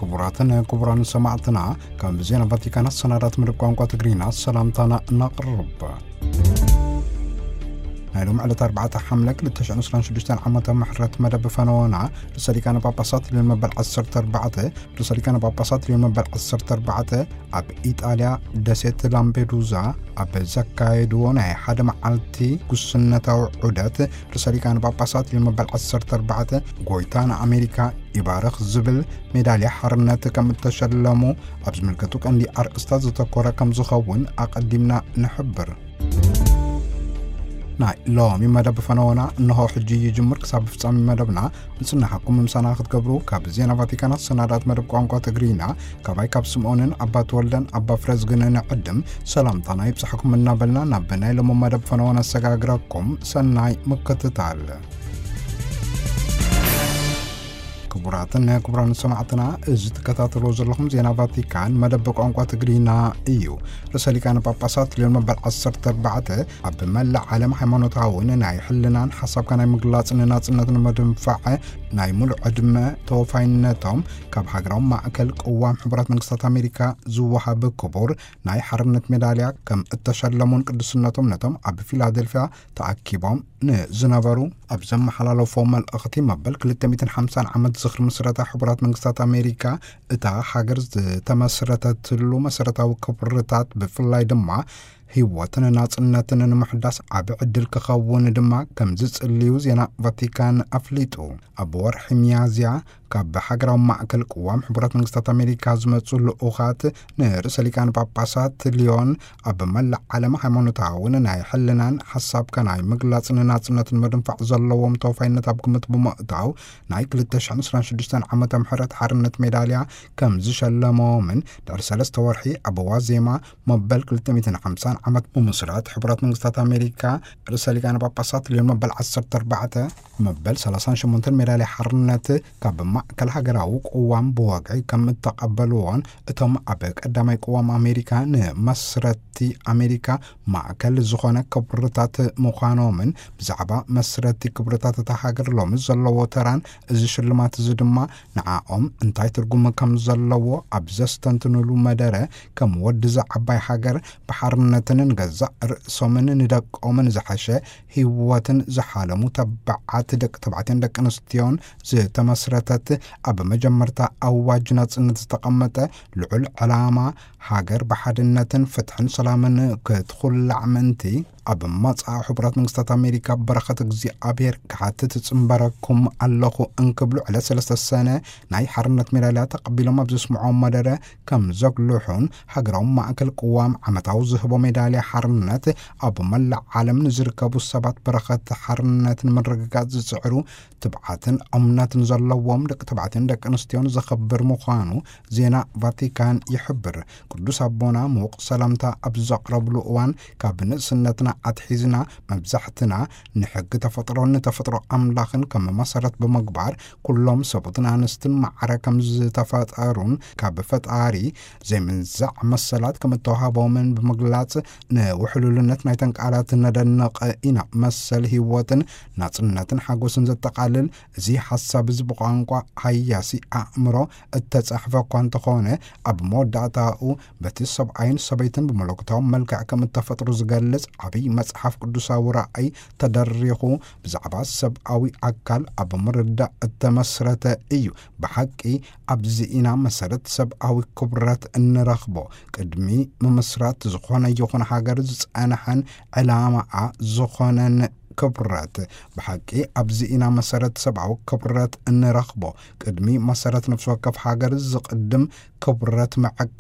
ክቡራትን ክቡራን ሰማዕትና፣ ካብ ዜና ቫቲካን ኣሰናዳት መደብ ቋንቋ ትግርኛ ሰላምታና እናቕርብ። ናይ ሎም ዕለት ኣርባዕተ ሓምለ ክልተ ሽሕን ዕስራን ሽዱሽተን ዓመተ ምሕረት መደብ ፈነወና፣ ርእሰ ሊቃነ ጳጳሳት ሊዮን መበል ዓሰርተ ኣርባዕተ፣ ርእሰ ሊቃነ ጳጳሳት ሊዮን መበል ዓሰርተ ኣርባዕተ ኣብ ኢጣልያ ደሴት ላምፔዱዛ ኣብ ዘካየድዎ ናይ ሓደ መዓልቲ ጉስነታዊ ዑደት፣ ርእሰ ሊቃነ ጳጳሳት ሊዮን መበል ዓሰርተ ኣርባዕተ፣ ጎይታ ንኣሜሪካ ይባርኽ ዝብል ሜዳልያ ሓርነት ከም እተሸለሙ ኣብ ዝምልከቱ ቀንዲ ኣርእስታት ዘተኮረ ከም ዝኸውን ኣቐዲምና ንሕብር። ናይ ሎሚ መደብ ፈነወና እንሆ ሕጂ ይጅምር። ክሳብ ፍጻሜ መደብና ምጽናሕኩም ምሳና ክትገብሩ ካብ ዜና ቫቲካን ኣሰናዳት መደብ ቋንቋ ትግርኛ ካባይ ካብ ስምዖንን ኣባ ተወልደን ኣባ ፍረዝግን ንዕድም ሰላምታና ይብጻሕኩም እናበልና፣ ናብ ናይ ሎሚ መደብ ፈነወና ኣሰጋግረኩም። ሰናይ ምክትታል። ክቡራትን ክቡራን ሰማዕትና፣ እዚ ትከታተልዎ ዘለኹም ዜና ቫቲካን መደብ ቋንቋ ትግርኛ እዩ። ርእሰ ሊቃነ ጳጳሳት ሊዮን መበል ዓሰርተ ኣርባዕተ ኣብ መላእ ዓለም ሃይማኖታውን ናይ ሕልናን ሓሳብካ ናይ ምግላጽን ናጽነትን መድንፋዕ ናይ ሙሉእ ዕድመ ተወፋይነቶም ካብ ሃገራዊ ማእከል ቅዋም ሕቡራት መንግስታት ኣሜሪካ ዝወሃብ ክቡር ናይ ሓርነት ሜዳልያ ከም እተሸለሙን ቅዱስነቶም ነቶም ኣብ ፊላደልፊያ ተኣኪቦም ንዝነበሩ ኣብ ዘመሓላለፎ መልእኽቲ፣ መበል ክልተ ሚእትን ሓምሳን ዓመት ዝኽሪ ምስረታ ሕቡራት መንግስታት ኣሜሪካ፣ እታ ሃገር ዝተመስረተትሉ መሰረታዊ ክብርታት ብፍላይ ድማ ህይወትን ናጽነትን ንምሕዳስ ዓቢ ዕድል ክኸውን ድማ ከም ዝጽልዩ ዜና ቫቲካን ኣፍሊጡ። ኣብ ወርሒ ሚያዝያ ካብ ሃገራዊ ማእከል ቅዋም ሕቡራት መንግስታት ኣሜሪካ ዝመጹ ልኡኻት ንርእሰ ሊቃነ ጳጳሳት ሊዮን ኣብ መላእ ዓለም ሃይማኖታውን ናይ ሕልናን ሓሳብካ ናይ ምግላጽን ናጽነትን ምድንፋዕ ዘለዎም ተወፋይነት ኣብ ግምት ብምእታው ናይ ክልተ ሽሕን ዕስራን ሽዱሽተን ዓመተ ምሕረት ሓርነት ሜዳልያ ከም ዝሸለሞምን ድሕሪ ሰለስተ ወርሒ ኣብ ዋዜማ መበል ክልተ ሚእትን ሓምሳን ዓመት ምምስራት ሕቡራት መንግስታት ኣሜሪካ ርእሰ ሊቃነ ጳጳሳት ሊዮን መበል ዓሰርተ ኣርባዕተ መበል ሰላሳን ሸሞንተን ሜዳልያ ሓርነት ካብ ማእከል ሃገራዊ ቅዋም ብወግዒ ከም እተቐበልዎን እቶም ኣብ ቀዳማይ ቅዋም ኣሜሪካ ንመስረቲ ኣሜሪካ ማእከል ዝኾነ ክብርታት ምዃኖምን ብዛዕባ መስረቲ ክብርታት እታ ሃገር ሎሚ ዘለዎ ተራን እዚ ሽልማት እዚ ድማ ንዓኦም እንታይ ትርጉም ከም ዘለዎ ኣብ ዘስተንትንሉ መደረ ከም ወዲ እዛ ዓባይ ሃገር ብሓርነትን ንገዛእ ርእሶምን ንደቆምን ዝሓሸ ህይወትን ዝሓለሙ ተባዓት ደቂ ተባዕትዮን ደቂ ኣንስትዮን ዝተመስረተት ኣብ መጀመርታ ኣዋጅ ናጽነት ዝተቐመጠ ልዑል ዕላማ ሃገር ብሓድነትን ፍትሕን ሰላምን ክትኹላዕ ምእንቲ ኣብ መጻኢ ሕቡራት መንግስታት ኣሜሪካ በረኸት እግዚኣብሔር ክሓትት ጽንበረኩም ኣለኹ እንክብሉ ዕለት ሰለስተ ሰነ ናይ ሓርነት ሜዳልያ ተቐቢሎም ኣብ ዘስምዖም መደረ ከም ዘጉልሑን ሃገራዊ ማእከል ቅዋም ዓመታዊ ዝህቦ ሜዳልያ ሓርነት ኣብ መላእ ዓለም ንዝርከቡ ሰባት በረኸት ሓርነት ንምርግጋጽ ዝጽዕሩ ትብዓትን እምነትን ዘለዎም ደቂ ተባዕትዮን ደቂ ኣንስትዮን ዘኸብር ምዃኑ ዜና ቫቲካን ይሕብር። ቅዱስ ኣቦና ምዉቕ ሰላምታ ኣብ ዘቕረብሉ እዋን፣ ካብ ንእስነትና ኣትሒዝና መብዛሕትና ንሕጊ ተፈጥሮን ንተፈጥሮ ኣምላኽን ከም መሰረት ብምግባር፣ ኩሎም ሰብኡትን ኣንስትን ማዕረ ከም ዝተፈጠሩን ካብ ፈጣሪ ዘይምንዛዕ መሰላት ከም እተዋህቦምን ብምግላጽ፣ ንውሕሉልነት ናይተን ቃላት ነደንቕ ኢና። መሰል ህይወትን ናጽነትን ሓጎስን ዘጠቓልል እዚ ሓሳብ እዚ ብቋንቋ ሃያሲ ኣእምሮ እተጻሕፈ እኳ እንተኾነ፣ ኣብ መወዳእታኡ በቲ ሰብኣይን ሰበይትን ብመለኮታዊ መልክዕ ከም እተፈጥሩ ዝገልጽ ዓብዪ መጽሓፍ ቅዱሳዊ ራእይ ተደሪኹ ብዛዕባ ሰብኣዊ ኣካል ኣብ ምርዳእ እተመስረተ እዩ። ብሓቂ ኣብዚ ኢና መሰረት ሰብኣዊ ክብረት እንረኽቦ። ቅድሚ ምምስራት ዝኾነ ይኹን ሃገር ዝጸንሐን ዕላማኣ ዝኾነን ክብረት። ብሓቂ ኣብዚ ኢና መሰረት ሰብኣዊ ክብረት እንረኽቦ። ቅድሚ መሰረት ነፍሲ ወከፍ ሃገር ዝቕድም ክብረት ምዕቃብ